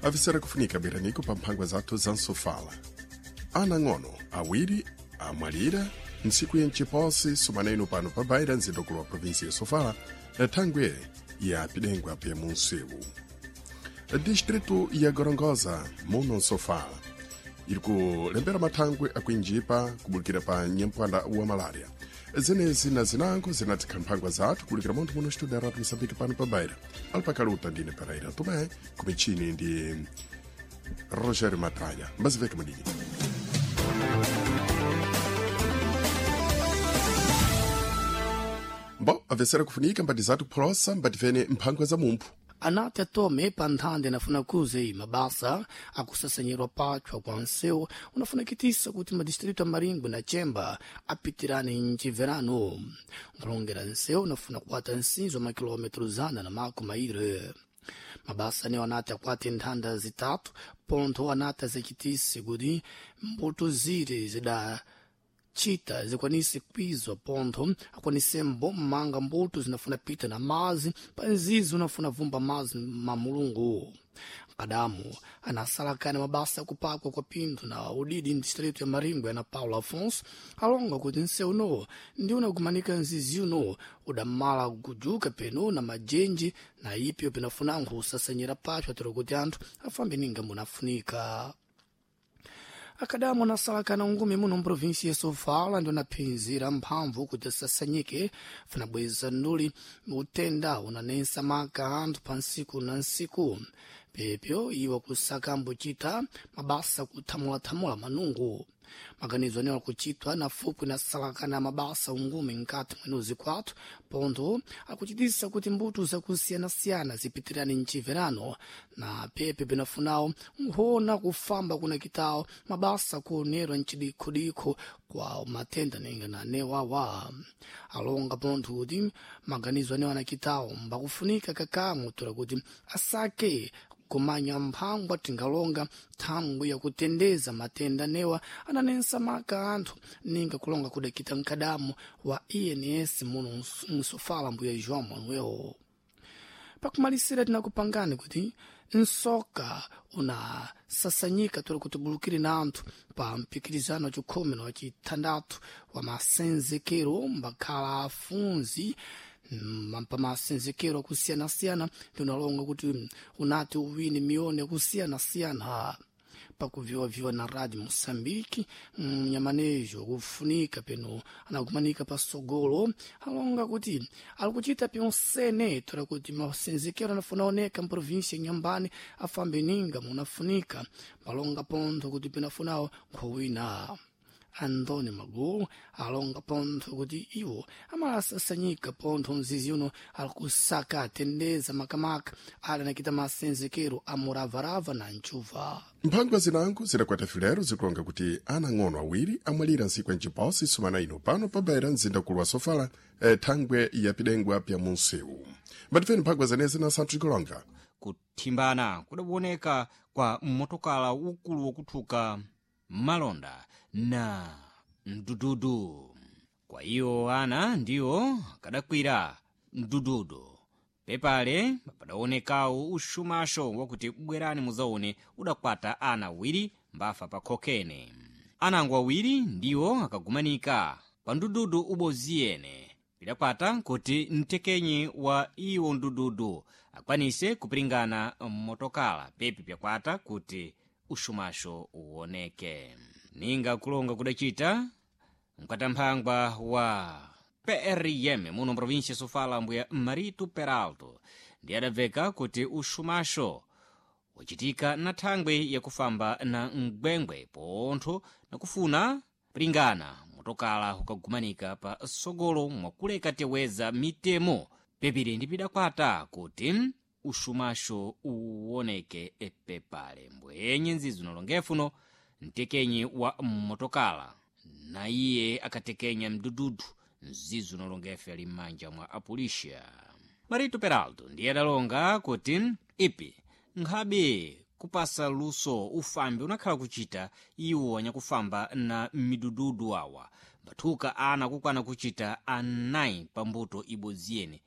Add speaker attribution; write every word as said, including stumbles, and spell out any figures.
Speaker 1: Avisera kufunika biraniko pa mphangwa zathu za nsofala. Ana ng'ono awiri amwalira ntsiku yenchiposi sumaneno pano pa Baira, mzindokulu wa provinsi ya Sofala, thangwe ya pidengwa pya munsewu. Distrito ya Gorongosa muno nsofala iri kulembera mathangwe akuinjipa kubulukira pa nyamphwanda wa malaria. Zenezi na zinango zinatikha mphangwa zathu kulikira munthu muno studio ya Radio Mosambike pano pa Baira. Alipakaluta ndine Pereira Tomé, kumichini ndi Rogério Matralha. Mbaziveke mudidi. Bo, avesera kufunika mbati zathu kupholosa mbativene mphangwa za mumphu.
Speaker 2: Anati atome pa nthanda inafuna kuze mabasa akusasanyirwa pachwa kwa nsewu unafunakitisa kuti madistritu a Maringwe na Chemba apitirane mciverano. Nkulongera nsewu unafuna kukwata nsinzo wa makilometro zana na mako maire. Mabasa anewo anati akwate nthanda zitatu, pontho anati azachitise kuti mbuto zire zida chita zikwanise kwizwa, pontho akwanisembo mmanga mbuto zinafuna pita na mazi pa nzizi unafuna vumba mazi ma Mulungu. Kadamu anasalakana mabasa akupakwa kwa pinthu na udidi mdistritu ya Maringwe ana Paulo Afonso alonga kuti nsewu uno ndi unagumanika nzizi uno udamala kujuka peno na majenji na ipyo pinafunankho usasanyira pacho atero kuti anthu afambe ninga munafunika. Akadamu anasalakana ngumi muno mprovinsi ya Sofala ndi unaphinzira mphamvu kuti asasanyike funabweza nduli utenda unanensa maka anthu pa nsiku na nsiku, pepyo iwo kusaka ambuchita mabasa kuthamulathamula manungu. Maganizo anewo akuchitwa na fupwi na salakana mabasa ungumi nkati mwenuzi kwathu, pontho akuchitisa kuti mbuto zakusiyanasiyana zipitirane mchiverano na pepe pinafunawo nkhona kufamba kunakitawo mabasa kuonerwa mchidikhudikho kwa matenda ninga na newawa. Alonga pontho kuti maganizo anewo anakitawo mbakufunika kakamwe tora kuti asake kumanya mphangwa tingalonga thangwi yakutendeza matenda newa ananensa maka anthu ninga kulonga kudakita mkadamu wa E N S muno msofala mbuya João Manuel. Pakumalisira tinakupangani kuti nsoka unasasanyika tori kuti bulukire na anthu pa mpikirizano wa chikhumi na wachithandathu wa masenzekero mbakhala afunzi pamasenzekero akusiyana-siyana ndi unalonga kuti unati uwine miyoni yakusiyana-siyana pakuviwaviwa na Radio Moçambique. Mnyamanejo kufunika peno anakumanika pasogolo alonga kuti alikuchita pyonsene tora kuti masenzekero anafuna oneka mprovinsia ya Nyambani afambe ninga munafunika, palonga pontho kuti pinafunawo nkhowina. Antônio Magulu alonga pontho kuti iwo amalasasanyika pontho mzizi uno alikusaka atendeza makamaka ali anakita masenzekero a muravarava na nchuva.
Speaker 1: Mphangwa zinango zidakwata filero zikulonga kuti ana ng'ono awiri amwalira ntsiku yanchiposi sumana ino pano pa Baira, mzindakulu wa Sofala, eh, thangwe ya pidengwa pya munsewu. Mbatifeni mphangwa zenezi na santhu tikulonga.
Speaker 3: Kuthimbana kudakuoneka kwa mmotokala ukulu wokuthuka malonda na mdududu. Kwa iwo ana ndiwo kadakwira mdududu pepale padaonekawo uxumaxo wakuti bwerani muzaone udakwata ana awiri mbafa pa khokene. Anango awiri ndiwo akagumanika pa mdududu uboziyene, pidakwata kuti mtekenyi wa iwo mdududu akwanise kupiringana mmotokala pepi pyakwata kuti uxumaxo uwoneke. Ninga kulonga kudacita mkatamphangwa wa P R M muno mprovinsia Sofala mbuya Marito Peralto ndi adabveka kuti uxumaxo wacitika na thangwi yakufamba na mgwengwe pontho nakufuna piringana motokala ukagumanika pa sogolo mwakuleka teweza mitemo pepiri ndi pidakwata kuti uxumaxo uwoneke pepale. Mbwenye nzizi unalongefuno mtekenyi wa mmotokala na iye akatekenya mdududu mzizi unalongefe ali m'manja mwa apulisha. Marito Peralto ndiye adalonga kuti ipi nkhabe kupasa luso ufambi unakhala kuchita iwo anyakufamba na midududu awa mbathuka ana kukwana kuchita anayi pambuto ibodzi yene.